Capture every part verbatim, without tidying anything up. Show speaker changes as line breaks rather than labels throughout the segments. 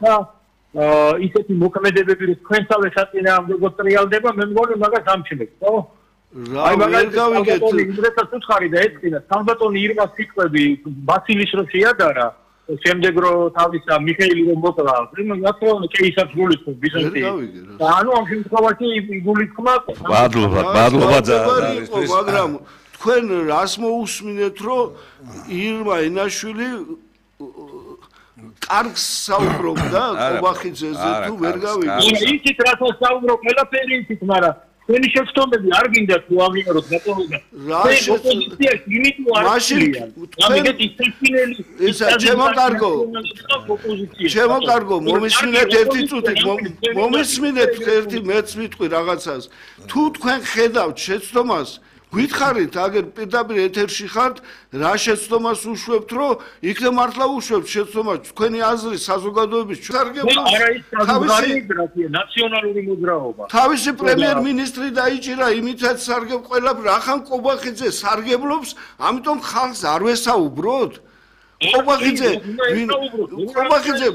და ისეთი მოქმედებები რომ თქვენსავე საწინააღმდეგო ტრიალდება მე მგონი მაგას ამჩნევთ ხო?
აი მაგას გავიგეთ
ინგრესას უცხარი და ეწყინა სამბატონი ირმას სიტყვები ბაცილის რო შეადარა შემდეგ რო თავისა მიხეილი რომ მოკლა მათო კეისარს გულისხმობ ბიზანტი და ანუ ამ შემთხვევაში გულისხმა
მადლობა მადლობა ძალიან
მაგრამ თქვენ რას მოусმინეთ რომ ირმა ენაშვილი კარგს საუბრობდა ყობახიძეზე თუ ვერ გავიგე
იცით რასაც საუბრობ ყველაფერი იცით მაგრამ თქვენი შეცდომები არ გინდა თუ აღიაროთ ბატონო
რა
ოპოზიციაში იმიტომ არ
მაშინ
ამიგეთ ისწინელი
ისა ჩემო კარგო ჩემო კარგო მომისმინეთ ერთი წუთი მომისმინეთ ერთი მეც ვიტყვი რაღაცას თუ თქვენ ხედავთ შეცდომას გითხარით აგერ პირდაპირ ეთერში ხართ რა შეცდომას უშვებთ რომ იქნებ მართლა უშვებთ შეცდომას თქვენი აზრი საზოგადოების ჩარგებულს
არა ის საზოგადოებრივი ნაციონალური მოძრაობა
თავისი პრემიერ-მინისტრი დაიჭირა იმითაც სარგებ ყველა რახან ყობახიძე სარგებლობს ამიტომ ხალხს არ ვესაუბროთ ყობახიძე ყობახიძე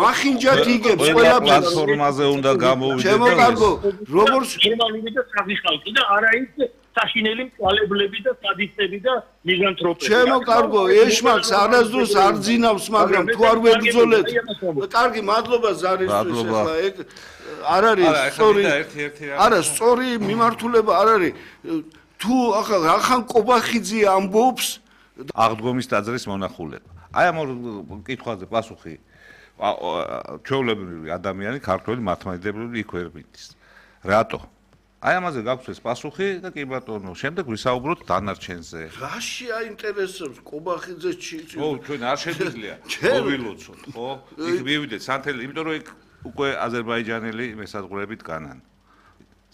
მახინჯად იგებს ყველა
პლატფორმაზე უნდა გამოვიდეთ
ჩემო კარგო როგორც
გერმანული და საზი ხალხი და არა ის საშინელი მწვალებლები და სადისტები და მიგრანტები.
ჩემო კარგო, ეშმაკს არასდროს არ ძინავს, მაგრამ თუ არ ვებრძოლეთ. კარგი, მადლობა ზარისთვის ახლა ეგ არ არის სწორი. არა, სწორი მიმართულება არ არის. თუ ახლა რახან ყობახიძე ამბობს
აღდგომის ტაძრის მონახულება. აი ამ კითხვაზე პასუხი ჩვეულებრივი ადამიანი, ქართველი მართლმადიდებლური იქ ვერ მიდის. რატო? აი ამაზე გაქვს ეს პასუხი და კი ბატონო, შემდეგ ვისაუბროთ დანარჩენზე.
რაში აინტერესებს ყობახიძეს ჩიცი?
ო, ჩვენ არ შეგვიძლია მოვილოცოთ, ხო? იქ მივიდეთ სანთელი, იმიტომ რომ იქ უკვე აზერბაიჯანელი მესაზღვრეებით განან.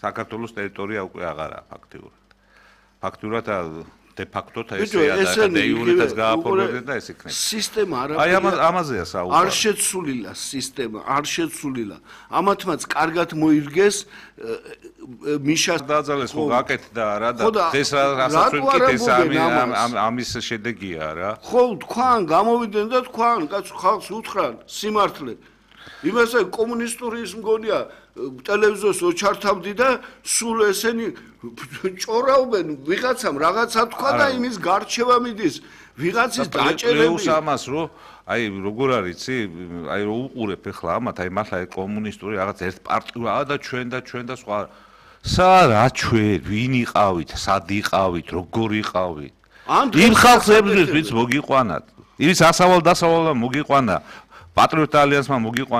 საქართველოს ტერიტორია უკვე აღარაა ფაქტიურად. ფაქტიურად de facto ესეა და de jure-აც გააფორმებდნენ და ეს იქნება.
სისტემა არა.
აი ამაზეა საუბარი.
არ შეცვლილა სისტემა, არ შეცვლილა. ამათმაც კარგად მოირგეს მიშას
დაძალეს ხო გაკეთდა რა და ეს რასაც ვიკით ეს ამის შედეგია რა.
ხო თქვან გამოვიდნენ და თქვან კაცო ხალხს უთხრან სიმართლე. იმასე კომუნისტური ის მგონია ტელევიზორს ოჩართავდი და სულ ესენი ჭორავენ ვიღაცამ რაღაცა თქვა და იმის გარჩევა მიდის ვიღაცის დაჭერები
ამას რომ აი როგორ არის იცი აი რო უყურებ ახლა ამათ აი მართლა კომუნისტური რაღაც ერთ პარტია და ჩვენ და ჩვენ და სხვა სა რა ჩვენ ვინ იყავით სად იყავით როგორ იყავით იმ ხალხებს ვინც მოგიყვანათ ის ასავალ დასავალ მოგიყვანა პატრიოტ ალიანსმა მოგიყვანა